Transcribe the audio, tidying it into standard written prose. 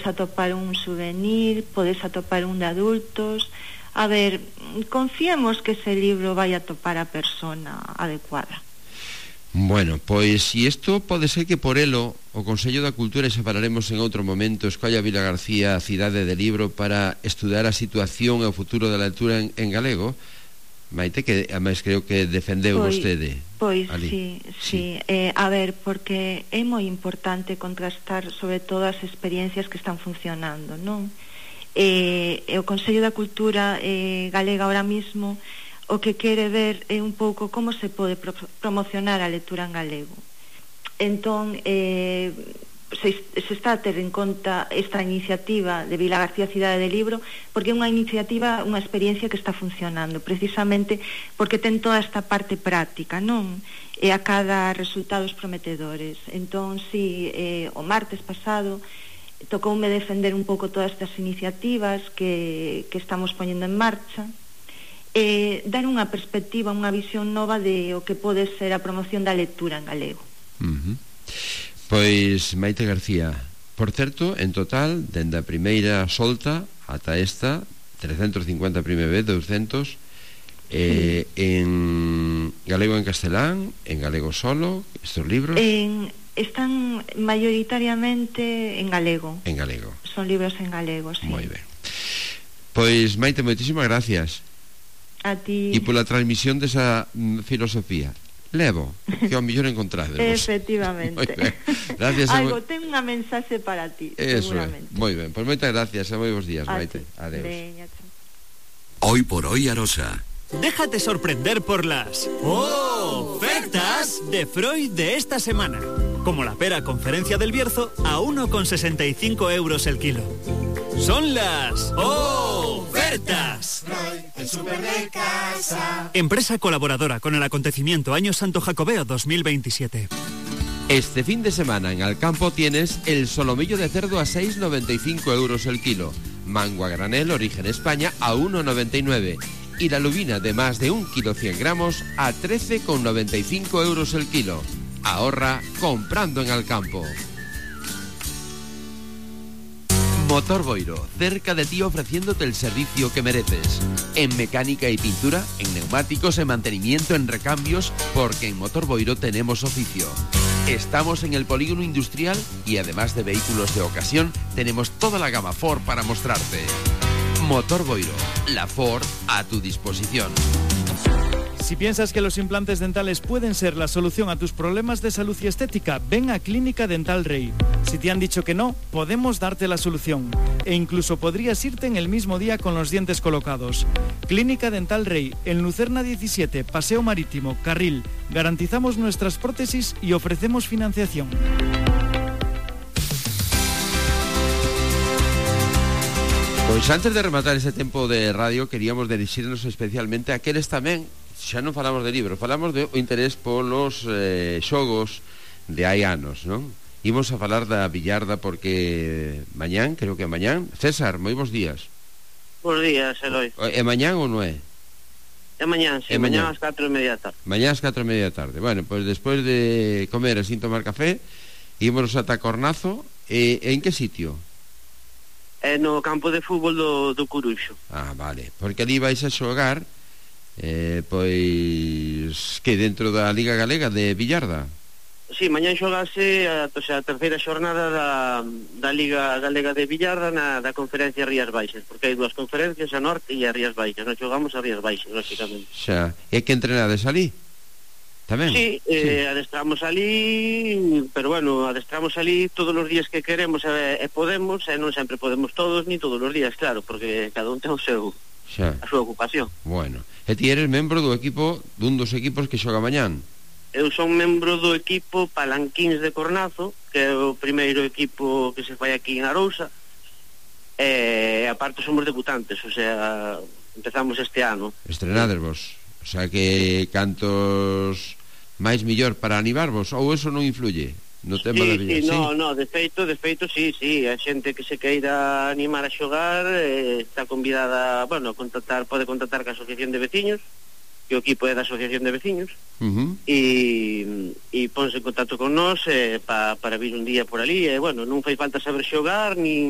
atopar un souvenir, podes atopar un de adultos. A ver, confiemos que ese libro vai atopar a persona adecuada. Bueno, pois se isto pode ser que por elo o Consello da Cultura, e xa falaremos en outro momento, escolla Vila García a cidade de libro para estudar a situación e o futuro da lectura en galego. Maite, que ademais creo que defendeu vostede. Pois, sí. A ver, porque é moi importante contrastar sobre todo as experiencias que están funcionando, non? O Consello da Cultura galega ahora mismo o que quere ver é un pouco como se pode promocionar a lectura en galego. Entón, se está a ter en conta esta iniciativa de Vila García Cidade de Libro, porque é unha iniciativa, unha experiencia que está funcionando, precisamente porque ten toda esta parte práctica, non? E a cada resultados prometedores. Entón, sí, o martes pasado tocoume defender un pouco todas estas iniciativas que estamos poñendo en marcha, dar unha perspectiva, unha visión nova de o que pode ser a promoción da lectura en galego. Pois, Maite García, por certo, en total, dende a primeira solta ata esta, 350 primeira vez, 200, en galego, en castelán, en galego solo, estos libros? Están mayoritariamente en galego. En galego. Son libros en galego, sí. Moi ben. Pois, Maite, moitísimas gracias. A ti. E pola transmisión desa filosofía. Levo, que ao mellor encontrades. Efectivamente. Gracias. Algo, ten unha mensaxe para ti. Eso seguramente. Moi ben, pois moitas gracias e moi bons días, Maite. Adeus. Veña, Hoy por hoy Arosa. Déjate sorprender por las ofertas de Freud de esta semana. Como la pera Conferencia del Bierzo a 1,65 euros el kilo. Son las ofertas. Freud, el súper de casa. Empresa colaboradora con el acontecimiento Año Santo Jacobeo 2027. Este fin de semana en Alcampo tienes el solomillo de cerdo a 6,95 euros el kilo, mango a granel origen España a 1,99 y la lubina de más de 1 kilo 100 gramos a 13,95 euros el kilo. Ahorra comprando en Alcampo. Motor Boiro, cerca de ti ofreciéndote el servicio que mereces. En mecánica y pintura, en neumáticos, en mantenimiento, en recambios, porque en Motor Boiro tenemos oficio. Estamos en el polígono industrial y además de vehículos de ocasión, tenemos toda la gama Ford para mostrarte. Motor Boiro, la Ford a tu disposición. Si piensas que los implantes dentales pueden ser la solución a tus problemas de salud y estética, ven a Clínica Dental Rey. Si te han dicho que no, podemos darte la solución. E incluso podrías irte en el mismo día con los dientes colocados. Clínica Dental Rey, en Lucerna 17, Paseo Marítimo, Carril. Garantizamos nuestras prótesis y ofrecemos financiación. Pois antes de rematar este tempo de radio, queríamos dirixirnos especialmente a aqueles tamén, xa non falamos de libros, falamos do interés polos xogos de hai anos, non? Imos a falar da billarda porque mañán, creo que mañán. César, moi bons días. Bons días, Eloi. É mañán ou non é? É mañán, sí, mañán ás 4:30 da tarde. Mañán ás 4:30 da tarde. Bueno, pois despois de comer e sin tomar café, ímonos ata Cornazo. En que sitio? No campo de fútbol do Coruxo. Ah, vale, porque ali vais a xogar pois que dentro da Liga Galega de Billarda. Sí, mañán xogase a terceira xornada da Liga Galega de Billarda da conferencia Rías Baixas, porque hai dúas conferencias, a Norte e a Rías Baixas. Nós xogamos a Rías Baixas, lógicamente. Xa, e que entrenades ali? Tamén? Sí, adestramos ali, pero bueno, adestramos ali todos os días que queremos e podemos, e non sempre podemos todos, ni todos os días, claro, porque cada un ten a súa ocupación. Bueno, e ti eres membro do equipo, dun dos equipos que xoga mañán? Eu son membro do equipo Palanquíns de Cornazo, que é o primeiro equipo que se fai aquí en Arousa, e aparte somos debutantes, o sea, empezamos este ano. Estrenades vos, o sea que cantos máis millor para animarvos, ou eso non influye no tema da vida? Sí, no, de feito, sí, a xente que se queira animar a xogar está convidada, bueno, pode contactar ca Asociación de Veciños, que o equipo é da Asociación de Veciños, e ponse en contacto con nós para vir un día por ali, e bueno, non fai falta saber xogar, ni